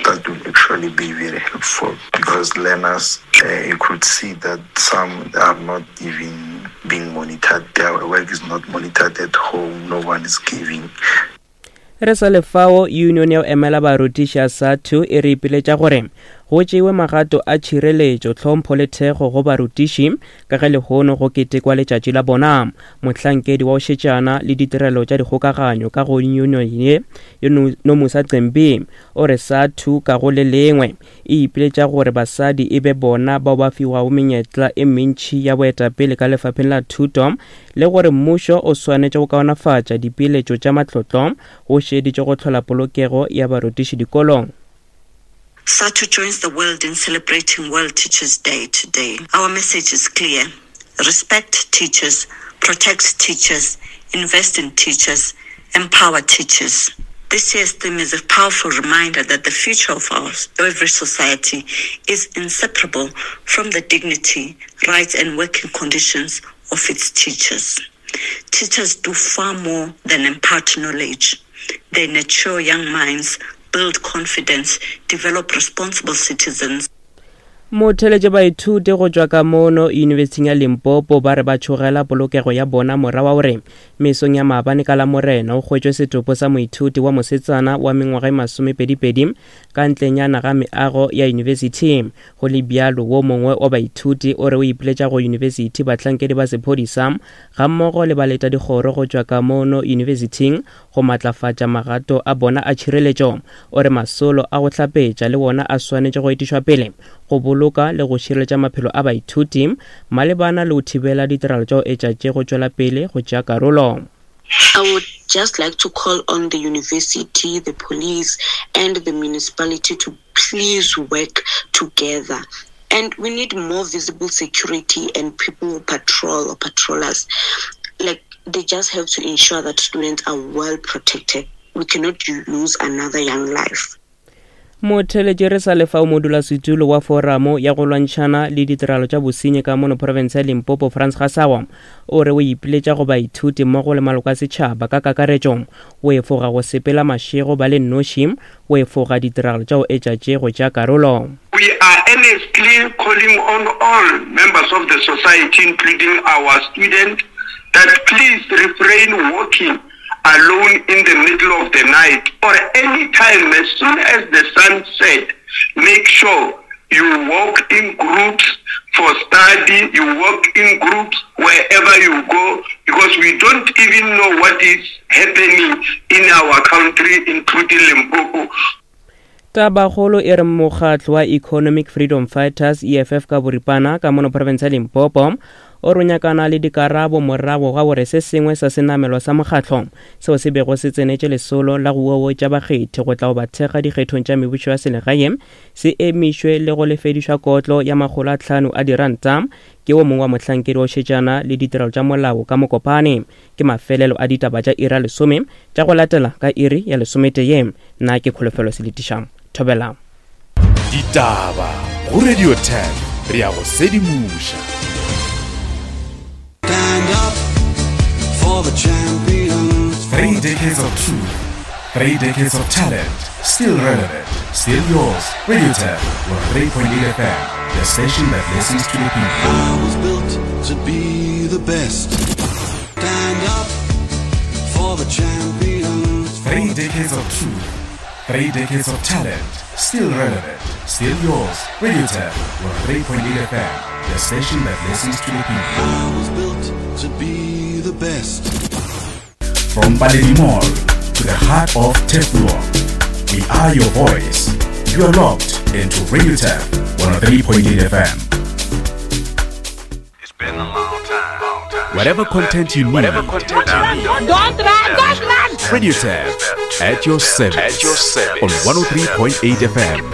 That will actually be very helpful because learners, uh, you could see that some are not even being monitored. Their work is not monitored at home. No one is giving. Re sa le fao, Union ya go emela barutiši ya SADTU e re ipiletša gore go tšeiwe magato a tšhireletšo, tlhompho le thekgo go barutiši ka ge lehono go ketekwa letšatši la bona. Mohlankedi wa go šetšana le ditirelo tša dikgokaganyo ka go union ye, Nomusa Cembi, o re SADTU ka go le lengwe e ipiletša gore basadi e be bona bao ba fiwago menyetla e mentši ya boetapele ka lefapheng la thuto le gore mmušo o swanetše go kaonafatša dipeeletšo tša matlotlo go šeditše go hlola polokego ya barutiši dikolong. SADTU joins the world in celebrating World Teachers Day today. Our message is clear. Respect teachers, protect teachers, invest in teachers, empower teachers. This year's theme is a powerful reminder that the future of our every society is inseparable from the dignity, rights, and working conditions of its teachers. Teachers do far more than impart knowledge. They nurture young minds, build confidence, develop responsible citizens. Motheletše baithuti go tšwa ka mono Yunibesithing ya Limpopo ba re ba tšhogela polokego ya bona mora wa gore mesong ya maabane ka Lamorena o hwetšwe setopo sa moithuti wa mosetsana wa mengwaga e masomepedipedi ka ntlenyana ga meago ya yunibesithi. Go le bjalo, wo mongwe wa baithuti o re o ipiletša go yunibesithi, bahlankedi ba sephodisa gammogo le baletadikgoro go tšwa ka mono yunibesithing go matlafatša magato a bona a tšhireletšo. O re masolo a go hlapetša le wona a swanetše go etišwa pele go boloka le go šireletša maphelo a baithuti malebana le go thibela ditiragalo tša go etša tše go tšwela pele go tšea karolo. I would just like to call on the university, the police and the municipality to please work together. And we need more visible security and people who patrol or patrollers. Like, they just have to ensure that students are well protected. We cannot lose another young life. Motheletši re sa lefa o modulasetulo wa foramo ya go lwantšhana le ditiragalo tša bosenyi ka mono profense ya Limpopo Frans Gasawa o re o ipiletša go baithuti mmogo le maloko a setšhaba ka kakaretšo go efoga go sepela mašego ba le nnoši go efoga ditiragalo tša go etša tše go tšea karolo. We are earnestly calling on all members of the society including our students that please refrain walking alone in the middle of the night or any time as soon as the sun set make sure you walk in groups for study you walk in groups wherever you go because we don't even know what is happening in our country including Limpopo. Tabakgolo e re mokgatlo wa Economic Freedom Fighters, EFF ka boripana, ka mono profense ya Limpopo o re nyakana le dikarabo morago ga gore se sengwe sa senamelwa sa mokgatlo seo se bego se tsenetše lesolo la go uowetša bakgethi go tla go ba thekga dikgethong tša mebušo ya selegae se emišwe le go lefedišwa kotlo ya makgolo a tlhano a diranta ke wo mongwe wa mohlankedi wa go šetšana le ditirelo tša molao ka Mokopane. Ke mafelelo a ditaba tša iri ya lesome tša go latela ka iri ya lesometee. Nna ke Kholofelo Seletiša. Thobela. Ditaba go Radio 10 re ya go sedimoša. Stand up for the champions. Three decades of truth, three decades of talent, still relevant, still yours. Radio 10, 103.8 FM, the station that listens to the people. I was built to be the best. Stand up for the champions. Three decades of truth, three decades of talent, still relevant, still yours. Radio 10, 103.8 FM, the station that listens to the people. I was built to be the best. From Paledi Mall to the heart of Teflon, we are your voice. You are locked into Radio Tef 103.8 FM. Whatever content you need, Whatever content you need. Don't run, don't run. Radio Tef at your service. At your service. On 103.8 FM.